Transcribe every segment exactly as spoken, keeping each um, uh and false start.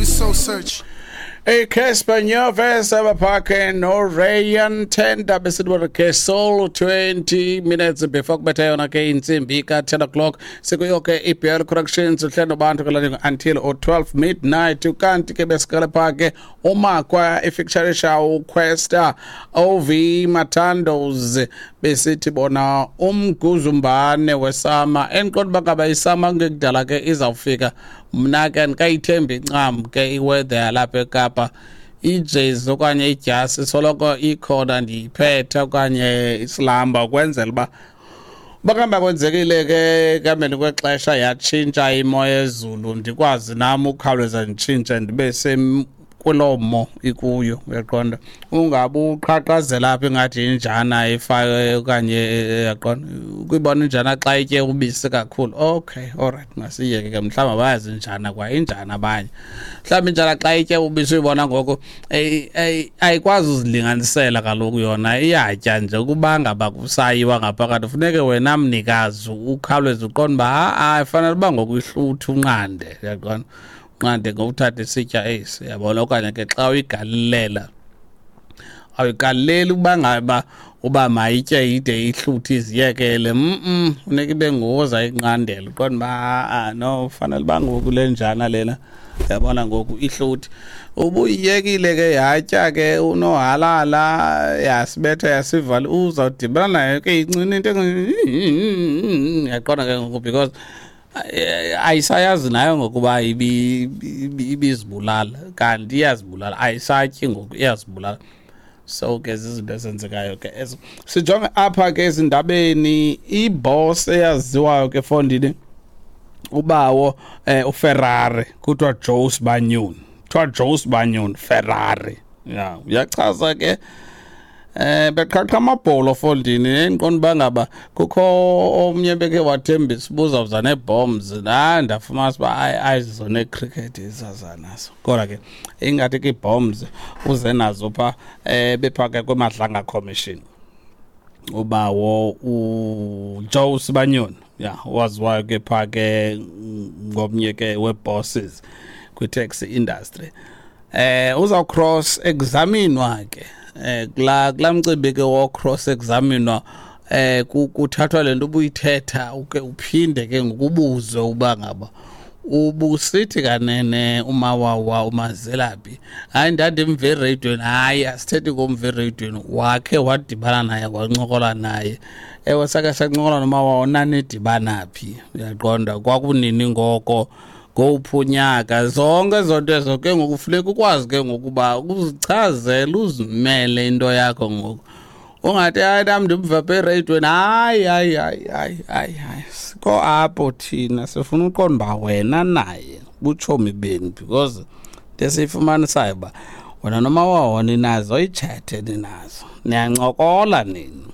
we soul search. iCassper Nyovest abaphakhe noRyan Tender besithi ke soul twenty minutes before kubetha yona ke intsimbi ka-ten o'clock. Sikuyo ke i-B L Corrections uhlelo bantu ke until or twelve midnight. Ukanti ke besiqale pha ke umakwa ifeaturisha uKwesta ov Matandos, besithi bona umguzumbane wesama. Endiqonda uba ngaba isama kungekudala ke izawufika. Mna ke andikayithembi ncam ke iweather yalapha eKapa. Ijezi okanye idyasi soloko ikhona, ndiyiphethe, okanye isilamba, ukwenzela uba bakuhamba kwenzekile ke ekuhambeni kwexesha yatshintsha imo yezulu, ndikwazi nam ukhawuleza nditshintshe ndibe kuloo mo ikuyo. Uyaqonda, ungabe uqhaqhazela apha ingathi injana ifake okanye, uyaqonda, ukuyibona injana xa itye ubisi kakhulu. Okay, alright, masiyeke ke. Mhlawumbi abayazi injana kwa injana abanye. Mhlawumbi injana xa itye ubisi uyibona ngoku ayikwazi uzilinganisela kaloku, yona iyatya nje. Ukuba ngaba kusayiwa ngaphakathi, funeke wena mnikazi ukhawuleze uqonde uba ha-a, ifanele uba ngoku ihluthe, unqande, uyaqonda, unqande ngokuthatha isitya esi, uyabona. Okanye ke xa uyigalilela, awuyigaleli uba ngaba uba mayitye ide ihluthe iziyekele. mm funeka ibe nguwe ayinqandela, uqonde uba ha-a, no, fanele uba ngoku le njana lena, uyabona, ngoku ihluthi. Ubuyiyekile ke yatya ke unohalala, yasibetha yasivala, uzawudibana nayo ke incinci into, uyaqonda ke ngoku, because ayisayazi nayo ngokuba ibizibulala, kanti iyazibulala. Ayisatyi ngoku, iyazibulala. So ke zizinto ezenzekayo ke ezo. Sijonge apha ke ezindabeni. Iboss eyaziwayo ke fondini, ubawo eh, uFerrari, kuthiwa Joe Sibanyoni, kuthiwa Joe Sibanyoni Ferrari ya, uyachaza ke eh beqhaqha amabholo fondini. Endiqonda uba ngaba kukho omnye beke wathembisa ubuzawuza nee-bombs na, ndafumanisa uba ayizizo nee-cricket izaza nazo, kodwa ke ingathi ke ii-bombs uze nazo phaa. um bephaa ke kwiMadlanga Commission ubawo uJoe Sibanyoni ya, waziwayo ke phaa ke ngomnye ke wee-bosses kwi-taxi industry, eh uzaw cross examinwa ke eh kula kula mcimbi ke wo cross examinwa. eh kuthathwa lento ubuyithetha, uke uphinde ke ngokubuzwe uba ngaba ubusithi kanene uMawawa umazelaphi. Hayi, ndandimve ereyidweni. Hayi, asithethi ngomva ereyidweni, wakhe wadibana naye, wancokola naye? Ewe, sake sancokola noMawawa. Nanidibana phi? Uyaqonda, kwakunini ngoko, ngowuphi unyaka? Zonke ezo nto ezo ke ngoku funeka ukwazi ke ngokuba uzichazele, uzimele into yakho ngoku. Ungathi hayi, nam ndimva apha ereyidweni. Hayi, hayi, hayi, hayi, hayi, hayi, sikho apho thina sifuna uqonda uba wena naye butshomi benu, because into esiyifumanisayo uba wena noMawawa ninazo iitshethe, ninazo, niyancokola nini.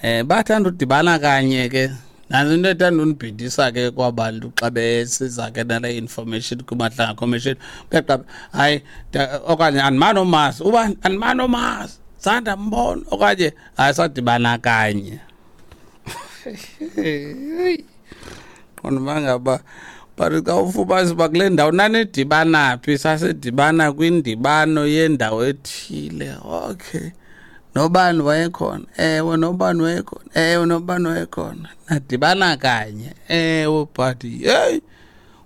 um bathanda udibana kanye ke. Nantso into ethanda undibhidisa ke kwabantu xa besiza ke nale information kwiMadlanga Commission. Uyaqapha, hayi, okanye andimani omazi uba andimani omazi, sandambona, okanye hayi, sadibana kanye. Qonda uba ngaba, but xa ufumanisa uba kule ndawo nanidibana phi, sasidibana kwindibano yendawo ethile. Okay, nobani wayekhona? Ewe, nobani wayekhona? Ewe, nobani wayekhona? Nadibana kanye? Ewe. But yeyi,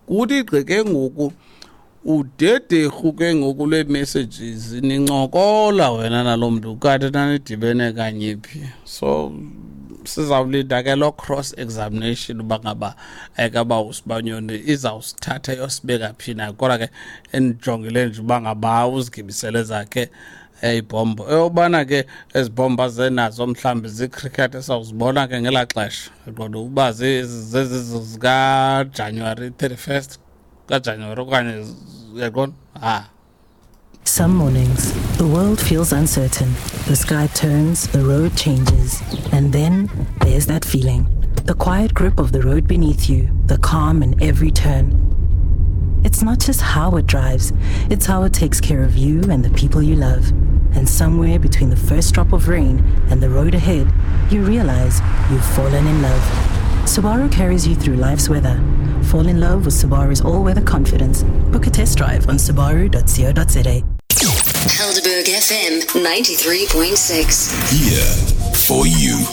kuthi gqi ke ngoku udederhu ke ngoku lwee-messages, nincokola wena naloo mntu, kanti nanidibene kanye phi? So sizawulinda ke loo cross examination uba ngaba ekaba uSibanyoni izawusithatha yosibeka phi na. Kodwa ke endijongile nje uba ngaba uzigibisele zakhe ibhombo, eyobana ke ezi bhomba zenazo mhlawumbi ziicricket, esawuzibona ke ngelaa xesha. Qonda uba zezi zikaJanuwari thirty-first kaJanuwari okanye, uyaqonda, ha. Some mornings, the world feels uncertain. The sky turns, the road changes, and then there's that feeling. The quiet grip of the road beneath you, the calm in every turn. It's not just how it drives, it's how it takes care of you and the people you love. And somewhere between the first drop of rain and the road ahead, you realize you've fallen in love. Subaru carries you through life's weather. Fall in love with Subaru's all-weather confidence. Book a test drive on subaru dot co dot za. Helderberg F M ninety-three point six. Here for you.